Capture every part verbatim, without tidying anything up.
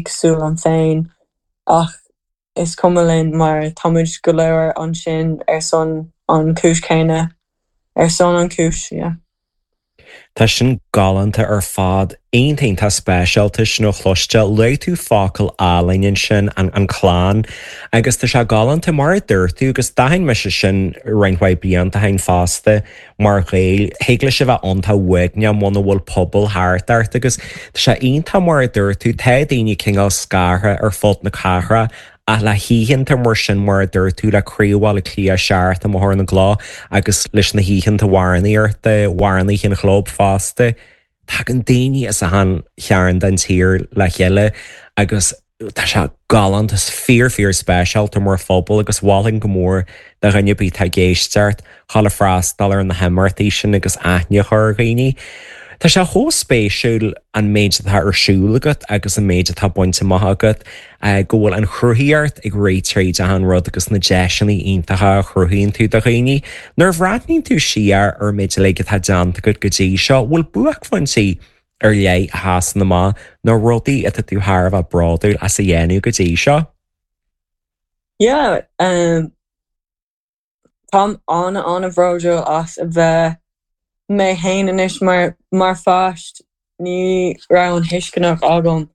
cosúil liom féin ach is cuma linn mar táimid go léir ansin ar son an chúis céanna ar son an chúis yeah. Tá sin galánta ar fad iontach iontach speisialta sin a chloisteáil luaigh tú focal álainn ansin an an clann agus tá sé galánta mar a dúirt tú agus d'aithin mise sin roinnt mhaith blianta ó shin fosta mar Ghael thig leis a bheith iontach uaigneach muna bhfuil pobal thart ort agus tá sé iontach mar a dúirt tú tá daoine cineál scartha ar fud na cathrach ach le hoícheanta mar sin mar a dúirt tú le Craobh Bhaile Átha Cliath seacht i mBóthar na gCloch agus leis na hoícheanta amhránaíochta amhránaithe an chlub fosta. Tagann daoine as achan chearn den tír le chéile agus tá sé galánta fíor fíor speisialta mar phobal agus mholfainn go mór do dhuine ar bith atá ag éisteacht dhul ag freastal ar na himeachtaí sin agus aithne a chur ar dhaoine. Tá sé chomh spéisiúil an méid atá ar siúl agat agus an méid atá bainte amach agat go bhfuil an chruthaíocht ag rith tríd an rud agus na deiseanna iontacha a chruthaíonn tú do dhaoine. Nuair a bhreathnaíonn tú siar ar méid uilig atá déanta agat go dtí seo, bhfuil buaicphointí ar leith a sheasann amach nó rudaí atá tú thar a bheith bródúil as a dhéanamh go dtí seo? Yeah, um, Táim an an-bhródúil as a bheith mé féin anois mar mar pháiste ní raibh an tuisceanach agam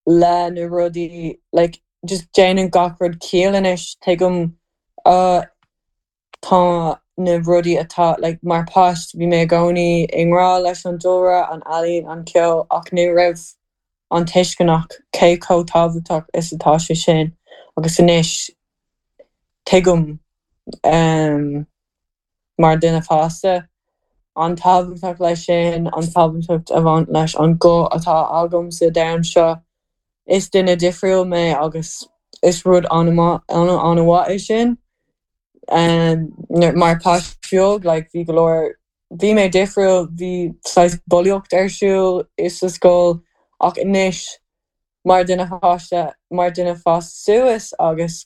le na rudaí like just déanann gach rud ciall anois tuigim uh, tá na rudaí atá like mar pháiste bhí mé i gcónaí i ngrá leis an dúlra an ealaín an ceol ach ní raibh an tuisceanach cé chomh tábhachtach is atá sé sin agus anois tuigim um, mar duine fásta an tábhachtach leis sin an tábhacht a bhain leis an guth atá agam sa domhan seo is duine difriúil mé agus is rud an-mhaith é sin um, mar pháiste beag like bhí go leor bhí mé difriúil bhí saghas bulaíocht ar siúl i sa scoil ach anois mar duine fásta mar duine fásta suas agus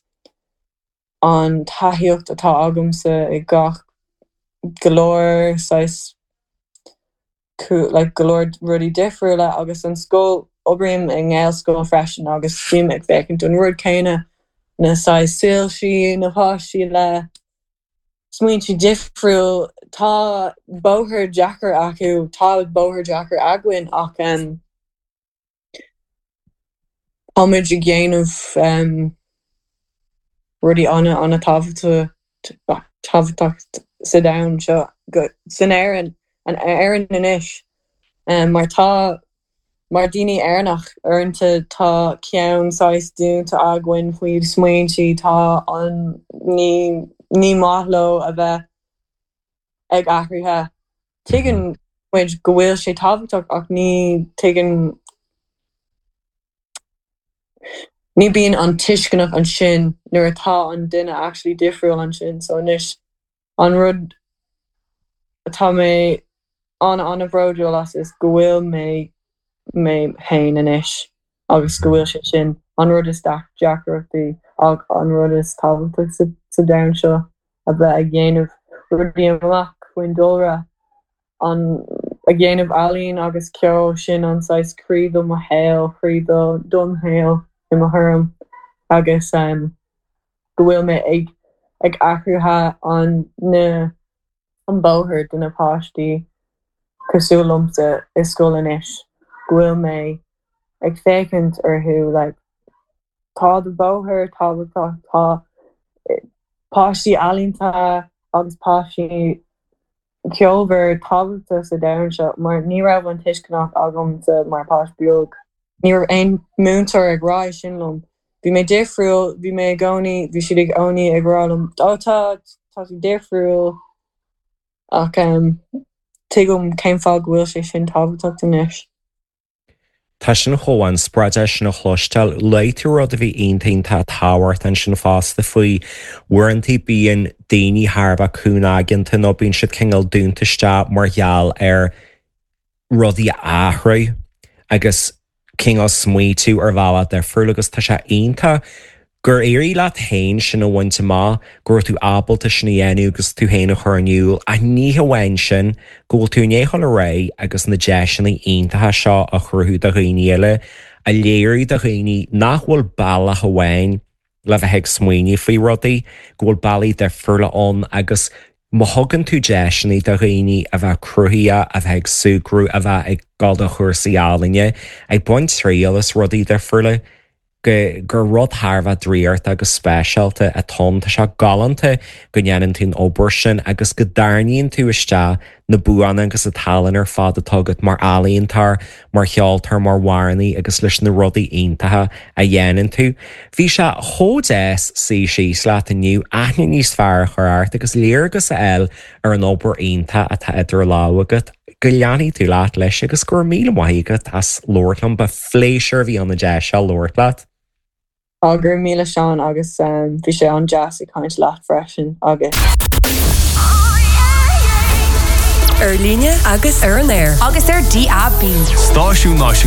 an taithíocht atá agamsa i gach go leor saghas like go leor rudaí difriúla agus an scoil oibrím i nGaelscoil freisin agus bím ag féachaint an rud céanna na saghas soilsí na páistí le smaointe difriúil tá bóthar deacair acu tá bóthar deacair againn ach um, táimid ag déanamh um, rudaí an an-tábhachtach tábhachtach sa domhan seo go san Éirinn an Éirinn anois um, mar tá mar daoine Éireannach uaireanta tá ceann saghas dúnta againn faoi smaointe tá an ní ní maith leo a bheith ag athraithe tuigeann muid go bhfuil sé tábhachtach ach ní tuigeann ní bíonn an tuisceanach ansin nuair atá an duine actually difriúil ansin so anois an rud atá mé an an-bhródúil as is go bhfuil mé mé féin anois agus go bhfuil sé sin an rud is deacrachtaí ach an rud is tábhachtach sa, sa domhan seo a bheith ag dhéanamh rudaí amach faoin dúlra an ag dhéanamh ealaín agus ceol sin an saghas croí do mo shaol croí do don shaol i mo thuairim agus um, go bhfuil mé ag ag athraithe an na an bóthar do na páistí cosúil liomsa i scoil anois go bhfuil mé ag féachaint orthu like tá do bóthar tábhachtach tá páistí ealaíonta agus páistí ceolmhar tábhachtach sa domhan seo mar ní raibh an tuisceanach agamsa mar pháiste beag. Ní raibh aon múinteoir ag rá sin liom. Bhí mé difriúil, bhí mé i gcónaí, bhí siad i gcónaí ag rá liom ó tá tá tú difriúil ach um, tuigim cén fáth go bhfuil sé sin tábhachtach anois. Tá sin chomh inspioráideach sin a chloisteáil luaigh tú rud a bhí iontach tábhachtach ansin fosta faoi uaireanta bíonn daoine thar a bheith cúngaigeanta nó bíonn siad cineál dúnta isteach mar gheall ar rudaí a athrú agus cineál smaoitiú ar bhealach difriúil agus tá sé iontach gur éirigh leat féin sin a bhaint amach go raibh tú ábalta sin a dhéanamh agus tú féin a chur in iúl ach ní hamháin sin go bhfuil tú ag dul ar aghaidh agus na deiseanna iontacha seo a chruthú do dhaoine eile a léiriú do dhaoine nach bhfuil bealach amháin le bheith ag smaoineamh faoi rudaí, go bhfuil bealaí difriúla ann agus má thugann tú deiseanna do dhaoine a bheith cruthaitheach, a bheith ag súgradh, a bheith ag dul do chúrsaí ealaíne, ag baint triail as rudaí difriúla, go gur rud thar a bheith draíochta agus speisialta atá ann. Tá sé galánta go ndéanann tú an obair sin agus go dtarraingíonn tú isteach na buanna agus an tallann ar fad atá agat mar ealaíontóir, mar cheoltóir, mar amhránaí agus leis na rudaí iontacha a dhéanann tú. Bhí sé chomh deas suí síos leat inniu, aithne níos fearr a chur ort agus léargas a fháil ar an obair iontach atá idir lámha agat. Go leanfaidh tú leat leis agus go raibh míle maith agat as labhairt liom, ba phléisiúr a bhí ann an deis seo labhairt leat. Á go raibh míle Seán agus bhí sé an-deas ag caint leat freisin agus. Ar líne agus ar an aer. Agus ar DAB. Stáisiún Náisiúnta